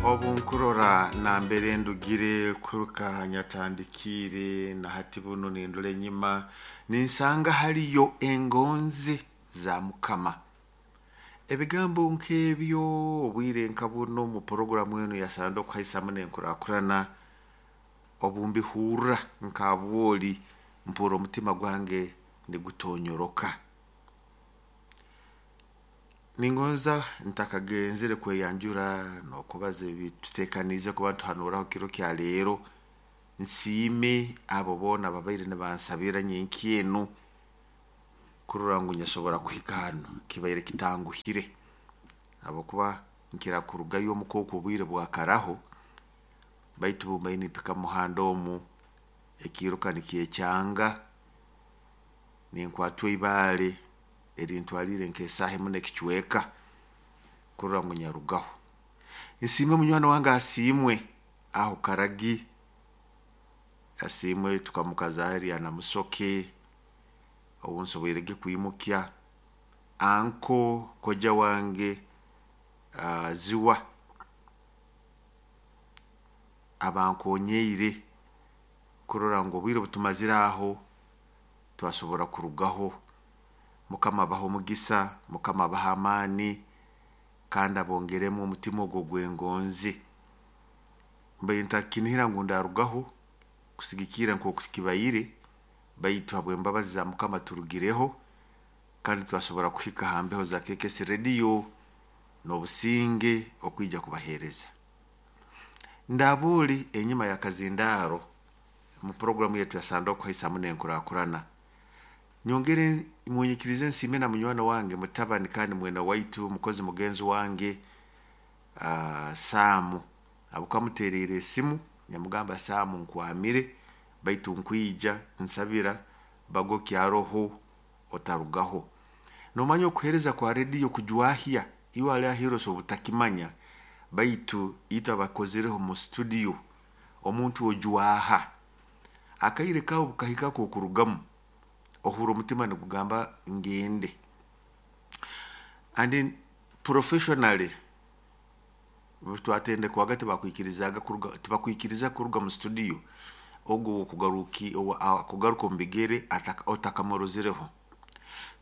Obu nkurora nambere ndugire kuruka nyatandikiire na hati bunu nindora enyima, ninsanga haliyo engonzi za Mukama. Ebigambo nk'ebyo obwire nka buno omu puroguramu enu ya Sande okuhaisamu n'enkurakurana, obu mbihurra nka bwoli mpurra omutima gwange nigutonyoroka. Ningonza ntakagenzere kweyanjura n'okubaza ebi tuteekaniize kuba nituhanuuraho kiro kya leero, nsiime abo boona ababaire nibansabira nyenkya enu kurora ngu nyasobora kuhika hanu, kibaire kitanguhire habwokuba nkira kurugayo omuka oku obwire bwakaraho, baitu obu mbaire nimpika mumuhanda omu, ekiiruka nikyekyanga, ninkwatwa ibaale erintwariire nk'esaaha emu n'ekicweeka kurora ngu nyarugaho. Nsiime munywani wange Asiimwe aho Karagi, Asiimwe tukamukazaaho erya Namusoke, obu nsoboirege kwimukya, uncle kojja wange Ziwa abankonyiire kurora ngu obwire obu tumazire aho twasobora kurugaho. Mukama abahe omugisa, Mukama abahe amaani kandi abongeremu omutima ogu ogw'engonzi. Mbaire ntakinihira ngu ndarugaho kusigikirra nkooku kibaire, baitu habw'embabazi za Mukama turugireho kandi twasobora kuhika ha mbeho za KKS Radio n'obusinge okwija kubaheereza. Ndabuuli enyuma y'akazindaaro mu puroguramu yaitu ya Sande okuhaisamu n'enkurakurana, nyongere munyikirize nsiime na munywani wange mutabani kandi mwene waitu mukozi mugenzi wange Sam, habwokuba muteeriire esimu nyamugamba, Sam, nkwamire baitu nkwija, nsabira baga okyaroho otarugaho. Nomanya okuheereza kwa rediyo kujwahya, iwe ali aheeru osobola obutakimanya, baitu itwe abakozireho mu studio, omuntu ojwaha, akaire kaawe obu kahika ak'okurugamu, ohurra omutima nigugamba ngende. And professionally, obu twatendekwaga tibakwikirizaaga kuruga, tibakwikiriza kuruga mu studio ogu ow'okugaruka omu bigere otakamurozereho.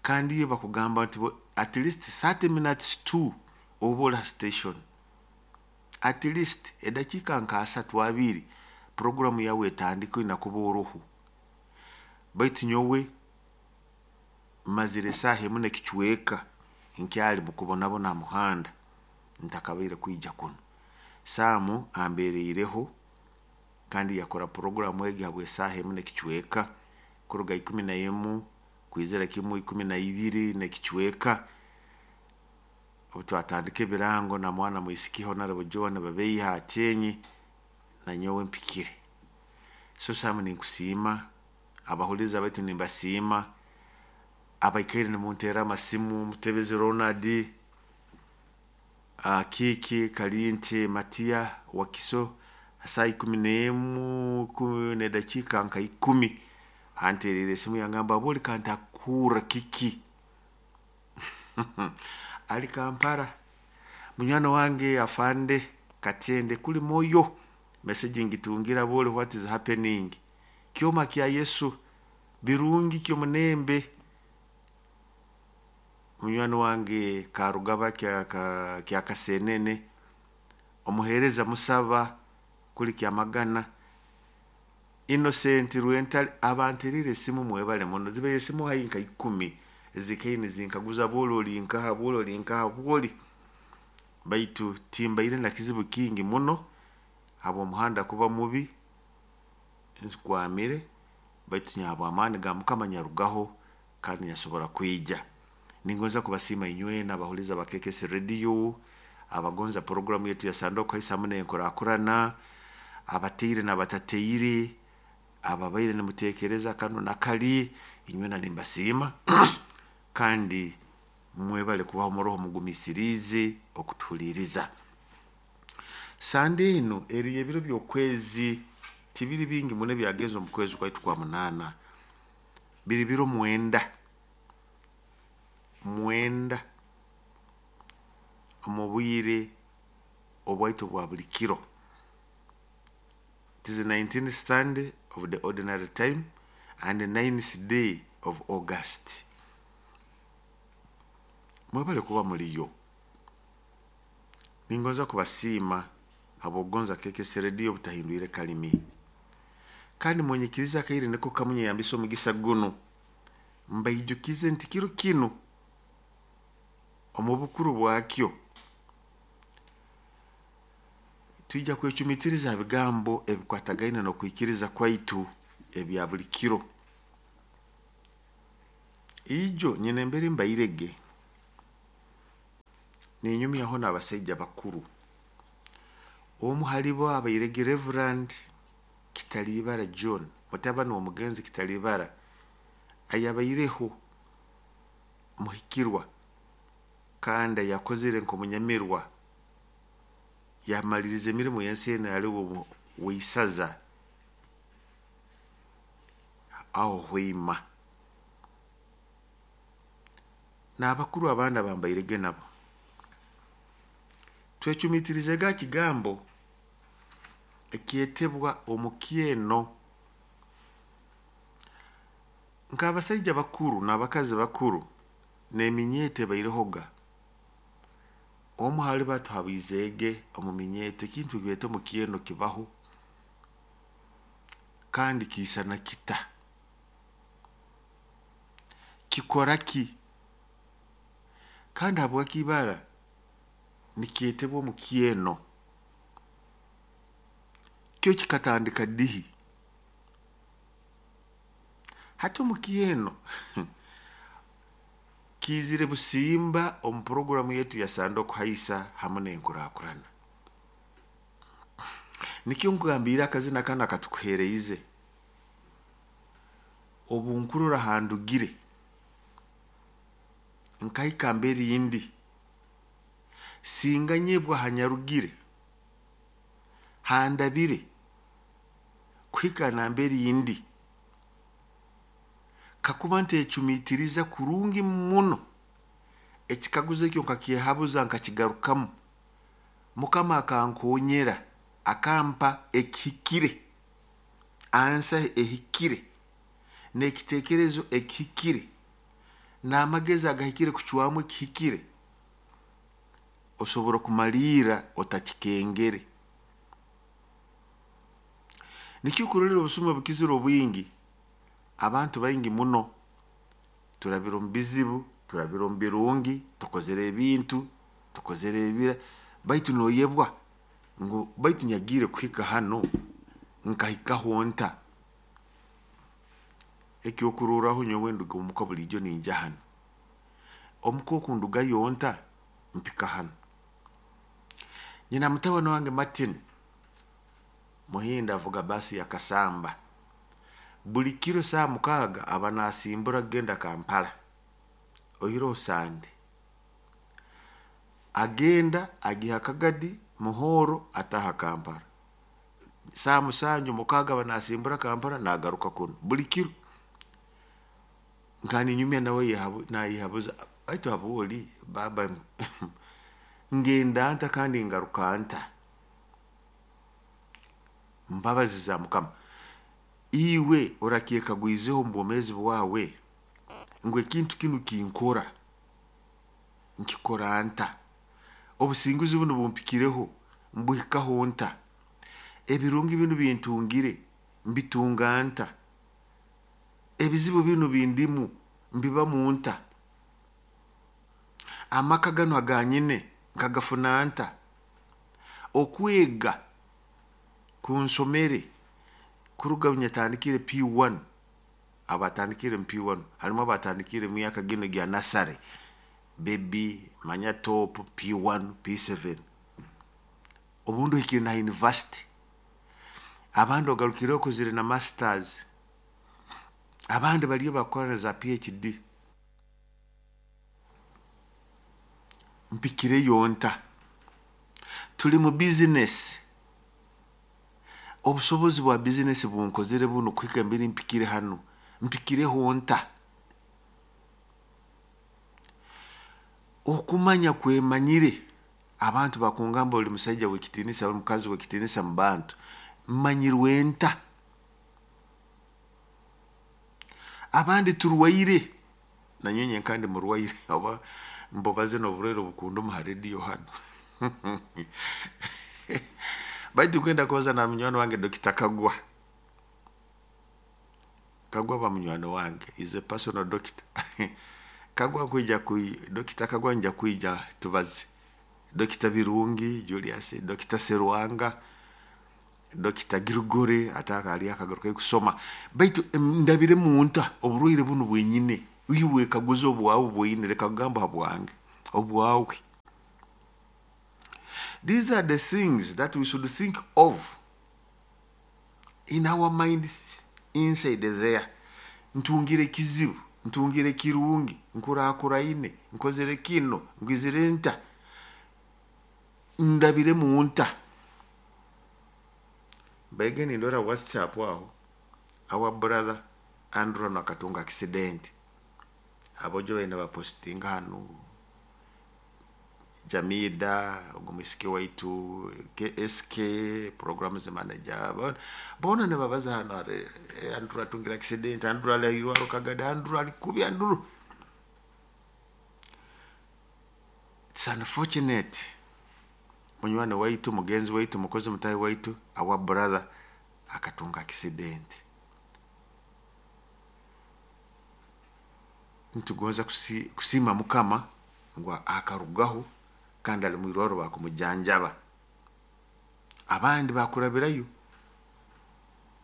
Kandi iyo bakugamba nti at least 30 minutes to oba ori ha station. At least edakiika nka asatu abiri puroguramu yawe etandike oine kuba oroho. Baitu nyowe mazire esaaha emu n'ekicweka nkyali mukubonabona ha muhanda ntakabaire kwija kunu. Sam ambeeriireho kandi yakora puroguramu egi habw'esaaha emu n'ekicweka kuruga 11 kwizira kimu 12 n'ekicweka. Obu twatandika ebirango na mwana mwisiki Honorable John Babeiha Atyenyi, nanyowe mpikire. So Sam, ninkusiima, abahuliiriza baitu nimbasiima, abaikaire nimunteerra amasimu, Mutebezi Ronald, Kiiki Kalinte Matiya Wakiso, ha saaha 11 n'edakiika nka 10 anteeriire esimu yangamba, buli kantakuhurra kiki? Ali Kampala. Munywani wange afande Katende kuli moyo, message ngitungira, buli what is happening? Kyoma kya Yesu, birungi kyomunembe. Munywani wange Karugaba kya Kasenene, omuheereza Musaba kuli Kyamagana, Innocent Rwentale abanteeriire esimu, mwebale muno. Zibaire esimu haihi nka 10 ezikaire nizinkaguza, bwoli ori nkaha, bwoli ori nkaha, bwoli, baitu timbaire na kizibu kingi muno habw'omuhanda kuba mubi, nkwamire, baitu habw'amaani ga Mukama nyarugaho kandi nyasobora kwija. Ningonza kubasiima inywena abahuliiriza ba KKS Radio, abagonza puroguramu yaitu ya Sande okuhaisamu n'enkurakurana, abateire n'abatateire, ababaire nimuteekereza kanu na kali, inywena nimbasiima kandi mwebale kubaho muroho mugumiisiriize okutuhuliiriza. Sande enu eri ebiro by'okwezi tibiri bingi muno ebyagenze omu kwezi kwaitu kwa munaana, biri biro 9, 9 omu bwire. obwaitu bwa buli kiro. It is the 19th Sunday of the ordinary time and the 9th day of August. Mwebale kuba muliyo. Ningonza kubasiima habw'okugonza KKS Radio obutahindwire kalimi. Kandi munyikirize akaire niko kamu nyeyambisa omugisa gunu mbaijukize nti kiro kinu omu bukuru bwakyo twija kwecumitiriza ha bigambo ebikwatagaine n'okwikiriza kwaitu ebya buli kiro. Ijo nyine embere mbairege ninyumyaho n'abasaija bakuru. Omu halibo abairege Reverend Kitalibara John, mutabani w'omugenzi Kitalibara, ayabaireho muhikirwa kandi ayakozere nk'omunyamirwa, yamaliriza emirimo y'ensi enu ali w'isaza aho Hoima. N'abakuru abandi abambairege nabo. Twecumitirize ga kigambo ekyetebwa omukyeno. Nk'abasaija bakuru n'abakazi bakuru n'eminyeeto ebairehoga. Omu hali batuhabizeege omu minyeeto ekintu ekibeeta omukyeno kibaho kandi kiisana kita. Kikora ki? Kandi habwaki ibara nikyetebwa omukyeno? Kyo kikatandika dihi? Hati omukyeno kiizire busimba omu puroguramu yetu ya Sande Okuhaisa hamu n'enkurakurana. Nikyo nkugambiire akazina kanu akatukuheereize. Obu nkurora handugire nkahika mbere indi, singa nyebwa hanyarugire, handabire kuhika nambere indi, kakuba ntecumitiriza kurungi muno ekikaguzo ekyo nkakyehabuza nkakigarukamu, Mukama akankonyera akampa ekihikire, ansa ehikire, n'ekiteekerezo ekihikire, n'amagezi agahikire kucwamu ekihikire, osobora kumaliira otakikengere. Nikyo kurolera obusumi obukizire obwingi, abantu baingi muno turabire omu bizibu, turabire omu birungi, tukozere ebintu, tukozere ebira, baitu noyebwa ngu baitu nyagiire kuhika hano nkahikaho nta. Ekyokurorraho nyowe nduga omuka buliijo ninja hanu. Omuka oku ndugayo nta mpika hanu. Nyina mutabani wange Martin Muhinda avuga baasi ya Kasamba. Buli kiro saaha 6 aba nasimbura kugenda Kampala oihireho Sande. Agenda agiha Kagadi, Muhoro ataaha Kampala. Saaha 7 6 aba nasimbura Kampala nagaruka kunu buli kiro. Nkaba ninyumya nawe nayehabuza baitu habwoli baaba ngenda nta kandi ngaruka nta? Mbabazi za Mukama. Iwe orakyekagwizeho omu bwomeezi bwawe ngu ekintu kinu kinkora, nkikora nta? Obusinguzi bunu bumpikireho, mbuhikaho nta? Ebirungi binu bintungire, mbitunga nta? Ebizibu binu bindimu, mbibamu nta? Amaka ganu aganyine nkagafuna nta? Okwega kunsomere kuruga nyatandikire P1, abatandikire mu P1, harimu abatandikire mu myaka ginu gya nasare, baby, manya top, P1, P7. Obundi ohikire na university. Abandi ogarukireho okozire na masters. Abandi baliyo bakora na za PhD. Mpikireyo nta? Tuli mu business. Obusobozi bwa business bunkozere bunu kuhika mbere mpikire hanu. Mpikireho nta? Okumanya kwemanyire. Abantu bakungamba oli musaija w'ekitiinisa, oli mukazi w'ekitiinisa mu bantu. Mmanyirwe nta? Abandi turwaire, nanyowe nyenka ndi murwaire, oba mbubaze n'oburwaire obukunduma ha rediyo hanu. Baitu nkwenda kubaza na munywani wange Dokita Kagwa. Kagwa ba munywani wange, is a personal doctor. Kagwa nkwija kui, Dokita Kagwa nja kwija tubaze. Dokita Birungi Julius, Dokita Serwanga, Dokita Girigore ataka ali akagaruka kusoma. Baitu ndabire munta oburwaire bunu bwenyine. Iwe kaguza obwawe bwenyine, leka kugamba habwange, obwawe. These are the things that we should think of in our minds inside there. Ntungire kizibu, ntungire kirungi, nkurakuraine, nkozere kino, ngizire nta, ndabire munta. Baige nindora WhatsApp aho, our brother Andrew nakatunga accident. Abojo baina bapostinga hanu Jamida, ogwo waitu, KSK, programs manager, bona nibabaza hano are Andrew atungira accident, Andrew alairwaro kagada, Andrew alikubi, Andrew. It's unfortunate. Munywani waitu, mugenzi waitu, mukozi mutahi waitu, our brother akatunga accident. Nitugonza kusima Mukama ngu akarugaho kandi ali mwirwaro bakumujanjaba. Abandi bakurabirayo.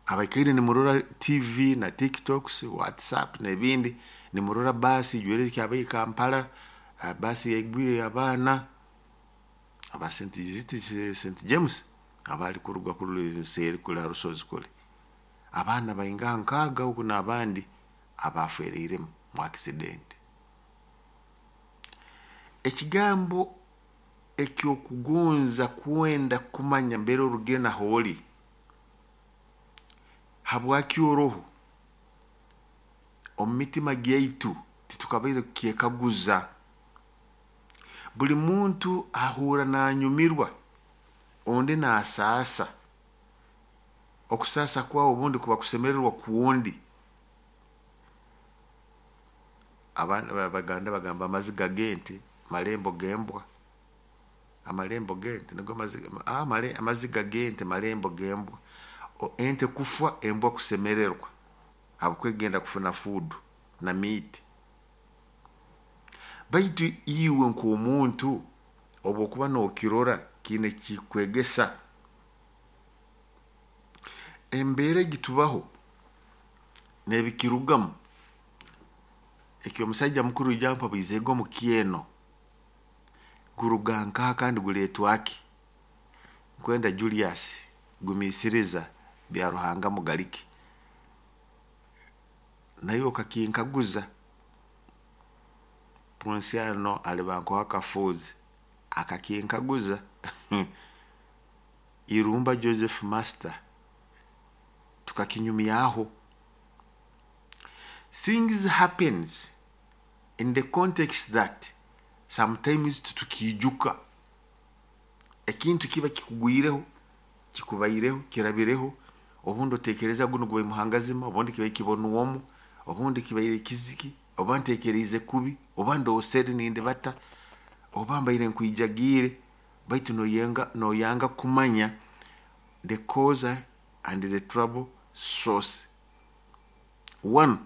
Abaikaire nimurora TV na TikToks, WhatsApp n'ebindi, nimurora basi ijwere kyabaye Kampala, basi yaigwire abaana aba St James abali kuruga kuli seri kuli harusozi kuli. Abaana bainga nkaaga huku n'abandi abafereiremu mu accident. Ekigambo ekyokugonza kwenda kumanya mbere orugenda holi, habwaki oroho, omu mitima gyaitu titukabaire kukyekaguza. Buli muntu ahura nanyumirwa, ondi nasaasa. Okusaasa kwawe obundi kuba kusemererwa kuwundi. Abana Abaganda bagamba amaziga g'ente malembo g'embwa. Amalembo g'ente nigo maziga, amaziga g'ente malembo g'embwa. Ente kufwa, embwa kusemererwa habwokwegenda kufuna food na meat. Baitu iwe nk'omuntu obwokuba nokirora kiine kikwegesa. Embeera egitubaho n'ebikirugamu, ekyo omusajja mukuru ijampa bwizege omu kyeno, guruga nkaha kandi guleetwa ki? Nkwenda Julius gumiisiriza bya Ruhanga mugalike. Naye okakinkaguza, Ponsiano aliba nkoha akafuuzi, akakinkaguza. Irumba Joseph Master, tukakinyumyaho. Things happens in the context that sometimes tutukiijuka. Ekintu kiba kikugwireho, kikubaireho, kirabireho, obundi otekereza guno gubaire muhangazima, obundi kibaire kibonwomu, obundi kibaire kiziki, oba ntekereize kubi, oba ndoosere nindibata, oba mbaire nkwijagiire, baitu noyanga kumanya the cause and the trouble source. One,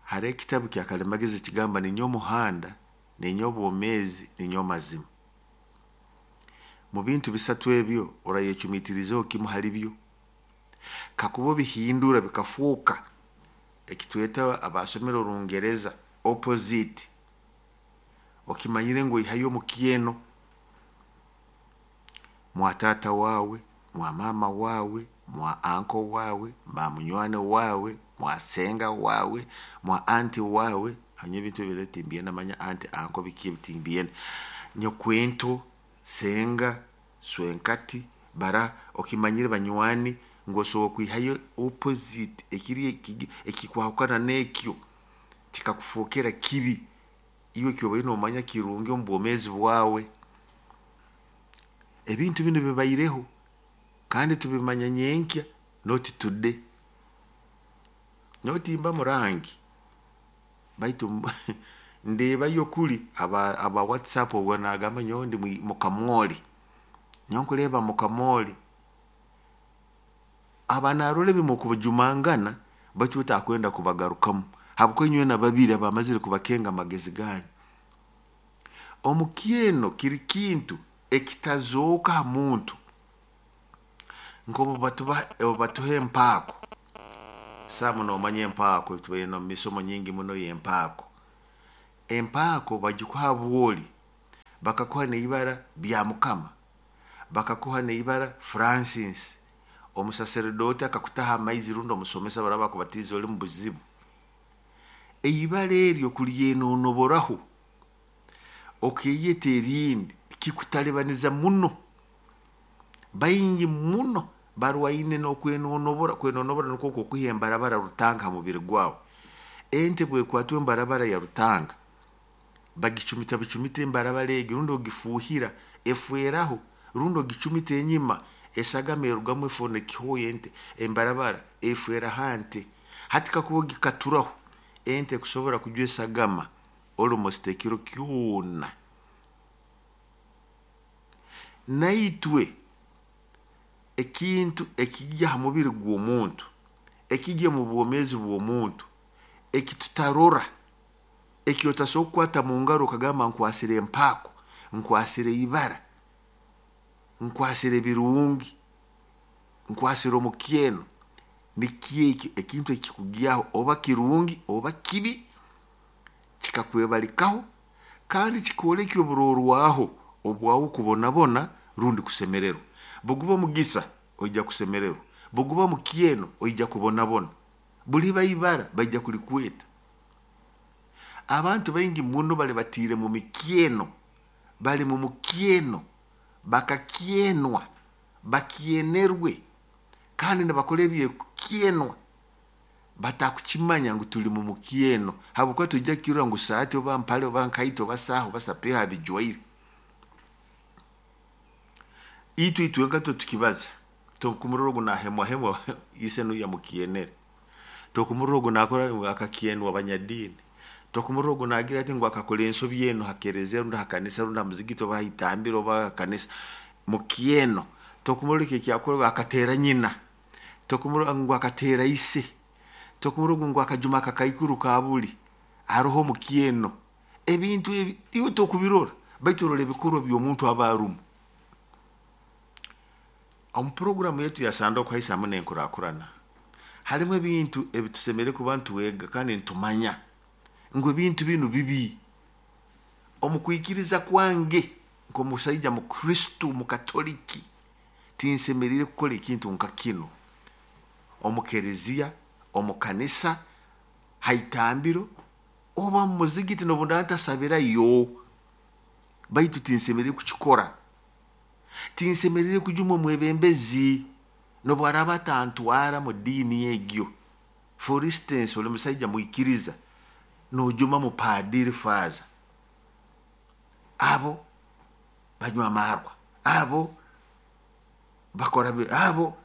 hariho ekitabu kya Kalimagezi kigamba ninyowe omuhanda, ninyowe obwomeezi, ninyowe amazima. Mu bintu bisatu ebyo orayecumitirizeho kimu hali byo. Kakuba obihindura bikafuuka ekitweta abasomere orungereza opposite, okimanyire ngu oihayo omukyeno mwa taata wawe, mwa maama wawe, mwa anko wawe, mwa munywani wawe, mwa senga wawe, mwa anti wawe. Hanyuma ebintu ebyo timbyenda manya anti anko biki timbyenda. Nyokwento, senga, swenkati, bara okimanyire banywani ngu osobola kwihayo opposite ekiri ekikwahukana n'ekyo kikakufookera kibi. Iwe ekyobaire nomanya kirungi omu bwomeezi bwawe. Ebintu binu bibaireho kandi tubimanya nyenkya, not today. Notimba murangi baitu ndeebayo kuli aba WhatsApp obwo nagamba nyowe ndi mukamwoli, nyowe nkureeba mukamwoli. Aba narora ebi mukujumangana baitu we takwenda kubagarukamu habwokuba inywena babiri abamazire kubakenga amagezi ganyu. Omukyeno kiri kintu ekitazooka ha muntu nk'obu batuha empaako. Saamu noomanya empaako, tubaire n'omu misomo nyingi muno y'empaako. Empaako bagikuha habwoli, bakakuha n'ibara bya Mukama, bakakuha n'ibara Francis, omusaseredooti akakutaho amaizi rundi omusomesa baraba bakubatiize oli mubuzibu. Eibara eryo kulyenonoboraho okeeyeta erindi kikutalibaniza muno. Baingi muno barwaine n'okwenonobora, kwenonobora nukwo nk'okwiha embarabara rutanga ha mubiri gwawe. Ente obu ekwatwa embarabara ya rutanga, bagicumita bicumita embarabara egi rundi ogifuuhira efeeraho, rundi ogicumita enyima esagama erugamu efuna ekihooya ente embarabara efeera ha nte. Hati kakuba ogikaturaho, ente kusobora kujwa esagama almost ekiro kyona. Naitwe ekintu ekigya ha mubiri gw'omuntu, ekigya omu bwomeezi bw'omuntu, ekitutarora, eki otasobora kukwata mungaro okagamba nkwasire empaako, nkwasire ibara, nkwasire ebirungi, nkwasire omukyeno, nikyo eki ekintu ekikugyaho oba kirungi oba kibi, kikakwebalikaho kandi kikooleka oburorwaho obwawe kubonabona rundi kusemererwa. Buguba omugisa oija kusemererwa, buguba mukyeno oija kubonabona, buliba ibara baija kulikweta. Abantu baingi muno bali batiire mu mikyeno, bali mu mukyeno, bakakyenwa, bakyenerwe kandi nibakora eby'ekukyenwa, batakukimanya ngu tuli mu mukyeno habwokuba twija kukirora ngu saati oba mpale oba nkaito oba saaha oba sapeewo abijwaire. Itwe itwenka tukibaza, tokumurora ogu nahemwahemwa ise nuwe yamukyenere, tokumurora ogu nakora ngu akakyenwa abanyadiini, tokumurora ogu nagira ati ngu akakora ensobi enu ha kereziya rundi ha kanisa rundi ha muzigiti oba ha itambiro oba ha kanisa, mukyeno. Tokumurora eki ekyakora akateera nyina, tokumurora ngu akateera ise, tokumurora ogu ngu akajuma akakaikuru kabuli, haroho omukyeno. Ebintu ebi iwe tokubirora baitu orora ebikorwa by'omuntu aba arumu. Omu puroguraamu yaitu ya Sande okuhaisa hamu n'enkurakurana, harimu ebintu ebitusemeriire kuba nitwega kandi nitumanya ngu ebintu binu bibi. Omu kwikiriza kwange nk'omusaija mukristo mukatoliki, tinsemeriire kukora ekintu nka kinu omu kereziya, omu kanisa, ha itambiro oba mu muzigiti n'obu ndaaba ntasabirayo, baitu tinsemeriire kukikora. Tinsemeriire kujuma omwebembezi n'obu araaba atantwara mu diini egyo. For instance, oli musaija mwikiriza, noojuma mupaadiri faaza, abo banywa amaarwa, abo bakora abo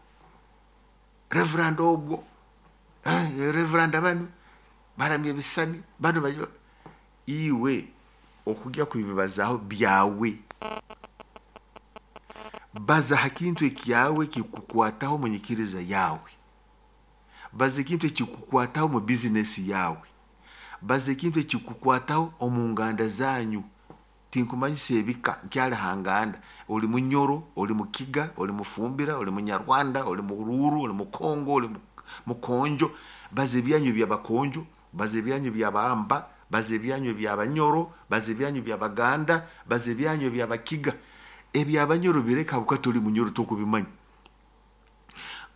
reverand ogwo, reverand banu baramya ebisisani, banu iwe okugya kubibazaaho byawe. Baza ha kintu ekyawe ekikukwataho omu nyikiriza yaawe. Baza ekintu ekikukwataho omu bizinesi yaawe. Baza ekintu ekikukwataho omu nganda zanyu. Tinkumanyisa ebika nkyali ha nganda. Oli Munyoro, oli Mukiga, oli Mufumbira, oli Munyarwanda, oli Muruuru, oli Mukongo, oli Mukonjo. Baza ebyanyu eby'Abakonjo, baza ebyanyu eby'Abamba, baza ebyanyu eby'Abanyoro, baza ebyanyu eby'Abaganda, baza ebyanyu eby'Abakiga. Eby'Abanyoro bireke habwokuba toli Munyoro tokubimanya.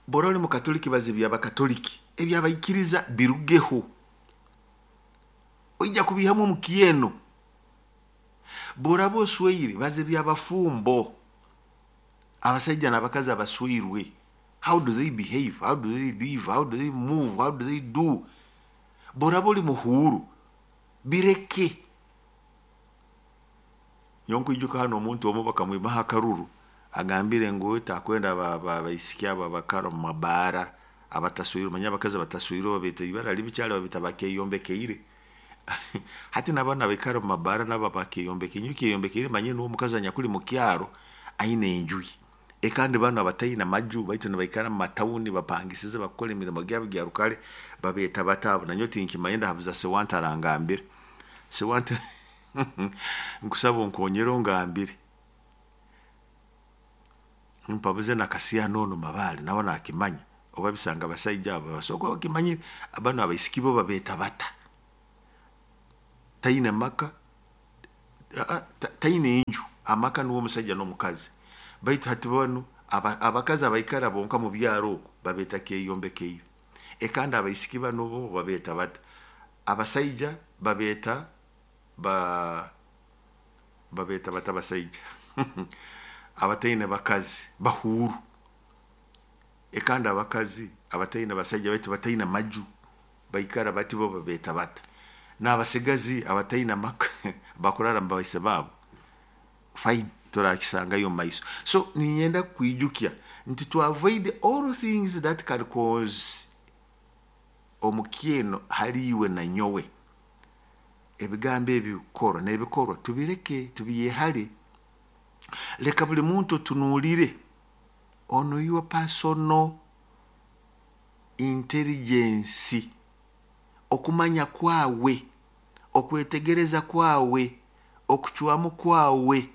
Bw'oraaba oli Mukatoliki baza eby'Abakatoliki, eby'abaikiriza birugeho. Oija kubiihamu omukyeno. Bw'oraaba osweire baza eby'abafumbo, abasaija n'abakazi abasweirwe, how do they behave, how do they live, how do they move, how do they do? Bw'oraaba oli muhuuru, bireke. Nyowe nkwijuka hanu omuntu omu bakamwimaho akaruru, Agambire ngu takwenda abaisiki abo abakara omu mabaara abataswirwe, manya abakazi abataswirwe babeeta ibara libi kyali, babeeta bakeyombekeire. Hati n'abaana abaikara omu mabaara nabo bakeyombekeire. Nyowe kyeyombekeire manye nuwe omukazi anyakuli mu kyaro aine enju ye. Kandi banu abataine amaju baitu nibaikara mu matawuni bapangisize bakukora emirimo gyabo gya rukare babeeta bata abo? Nanyowe tinkimanyire, ndahabuza Sewante arangambire. Sewante nkusaba onkonyere ongambire. Mpabuze na Kasiyano onu Mabale nawe nakimanya, oba bisanga abasaija abo basobora kuba bakimanyire. Banu abaisiki bo babeeta bata? Taine maka, taine enju, amaka nuwe omusaija n'omukazi. Baitu hati banu abakazi abaikara bonka mu byaro oku babeeta kyeyombekeire. Kandi abaisiki banu bo babeeta bata? Abasaija babeeta babeeta bata abasaija? Abataine bakazi bahuuru. Kandi abakazi abataine basaija baitu bataine maju baikara bati bo babeeta bata? N'abasigazi abataine amaka bakurara mu baise baabo, fine, turakisangayo omu maiso. So niinyenda kukwijukya nti to avoid all things that can cause omukyeno hali iwe na nyowe, ebigambo ebi kukorwa n'ebikorwa tubireke, tubyehale. Leka buli muntu otunuulire on your personal intelligence, okumanya kwawe, okwetegereza kwawe, okucwamu kwawe,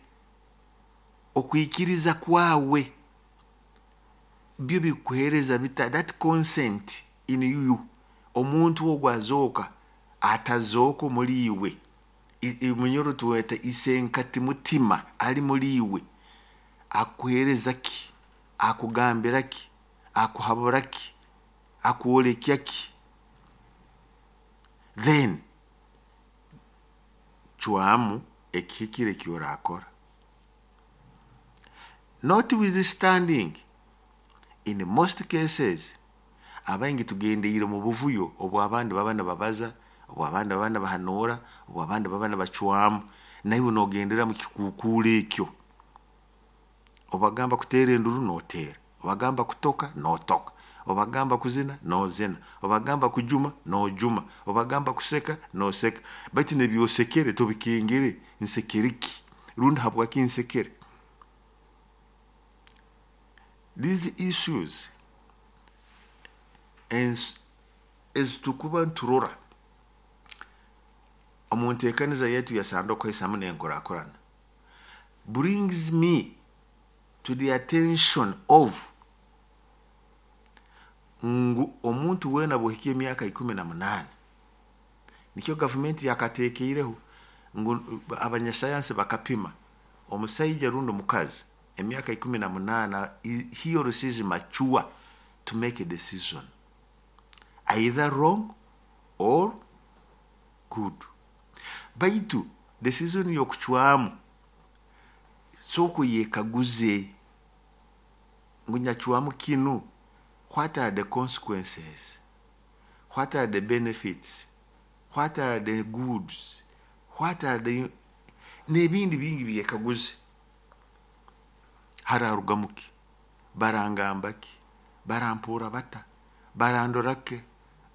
okwikiriza kwawe, byo bikuheereza bita that consent in you. Omuntu ogu azooka atazooka omuli iwe, munyoro tuweta isenkati mutima ali muli iwe, akuheereza ki? Akugambira ki? Akuhabura ki? Akwolekya ki? Then cwamu ekihikire eki orakora. Notwithstanding, in most cases, abaingi tugendeire omu buvuyo obw'abandi baba nibabaza, obw'abandi baba nibahanuura, obw'abandi baba nibacwamu, naiwe nogendera mu kikukuuro ekyo. Obagamba kuteera enduru noteera, obagamba kutoka notoka, obagamba kuzina nozina, obagamba kujuma nojuma, obagamba kuseka noseka. Baitu n'ebyosekere tobikengere, nsekere ki? Rundi habwaki nsekere? These issues ezitukuba niturora omu nteekaniza yaitu ya sanduuko hamu n'enkurakurana brings me to the attention of ngu omuntu weena bw'ohika emyaka 18, nikyo gavumenti yakateekeireho ngu abanyasayansi bakapima omusaija rundi omukazi emyaka 18, he or she is mature to make a decision, either wrong or good. Baitu decision y'okucwamu sooka oyekaguze ngu nyacwamu kinu, what are the consequences? What are the benefits? What are the goods? What are the n'ebindi bingi byekaguze. Hararugamu ki? Barangamba ki? Barampuura bata? Barandora ki?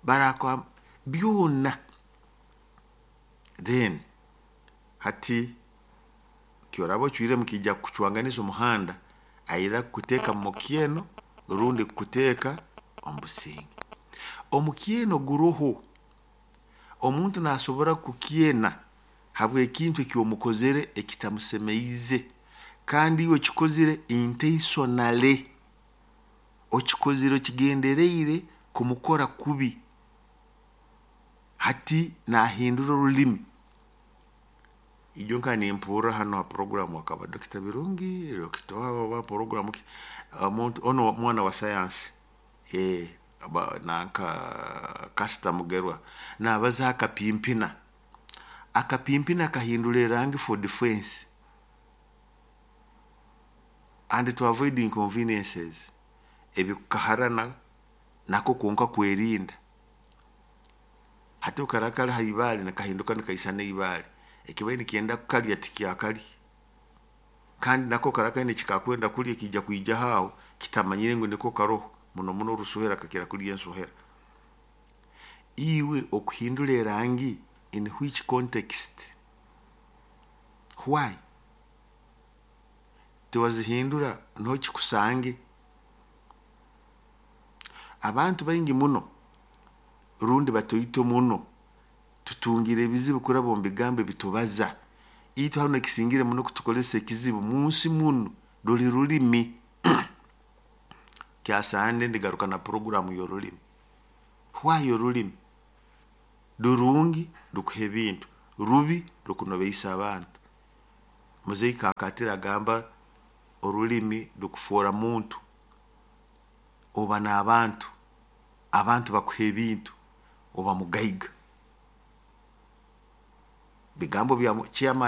Barakwa byona. Then hati kyoraba ocwiremu kiija kukucwanganiza omuhanda, either kukuteeka mu mukyeno rundi kukuteeka omu businge. Omukyeno guroho, omuntu nasobora kukyena habw'ekintu eki omukozere ekitamusemeize kandi iwe okikozire intentionally, okikozire okigendereire kumukora kubi. Hati nahindura orulimi. Ijo nka nimpurra hanu ha program akaba Dr. Birungi, Dr. wa program ki, omuntu onu mwana wa sayansi, nanka Kasita Mugerwa nabaza akapimpina. Akapimpina kahindura erangi for defense and to avoid inconveniences. Ebikukaharana nako kwonka kwerinda. Hati obu karaba kali ha ibaale nikahinduka nikaisana ibaale, ekibaire nikyenda kukalya tikyakalya. Kandi nako kara kaine ekikakwenda kulya, kiija kwijaho aho kitamanyire ngu niko karoho. Muno muno orusohera kakira kulya ensohera. Iwe okuhindura erangi in which context? Why? Tiwazihindura niho kikusange. Abantu baingi muno rundi batoito muno tutungire ebizibu kuraba omu bigambo ebitubaza. Itwe hanu ekisingire muno kutukozesa ekizibu munsi munu ruli rulimi. Kyasande ndigaruka na program y'orulimi. Why orulimi? Rurungi, rukuha ebintu, rubi, rukunobeisa abantu. Muzei Kakatira agamba orulimi rukufoora muntu, oba n'abantu, abantu bakuha ebintu, oba mugaiga. Bigambo bya chairman.